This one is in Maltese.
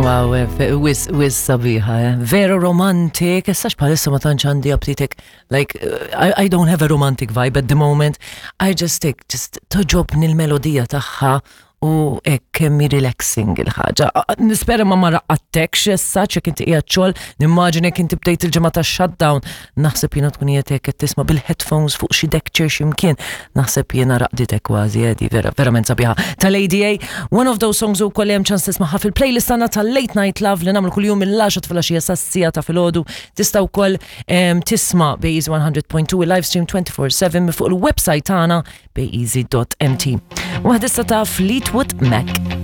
Wow, eh, wis, wis sabiħa, eh. Vera romantic, essax bħalissa ma tantx għandi aptitek, like, eh, I, I don't have a romantic vibe at the moment. I just take, just toġobni l-melodija tagħha u hekk kemm hi relaxing il-ħaġa. Nispera ma ma raqqattekx issa ċek inti qiegħed xogħol, nimmaġina jekk inti bdejt il-ġimgħa tax-shutdown, naħseb jiena tkun qiegħed hekk qed tisma' bil-headphones fuq xi deck chair x'imkien, naħseb jiena raqditek kważi edi vera verament sabiħa. Tal-ADA, one of those songs ukoll hemm ċans tismaħħa fil-playlist tagħna tal-Late Night Love li nagħmlu kuljum mill-10 filgħaxija sas-siegħa ta' filgħodu. Tista' wkoll tisma' bejn 100.2 live stream 24/7 fuq il-website tagħna bayeasy.mt. Waħda ta' Fleetwood Mac.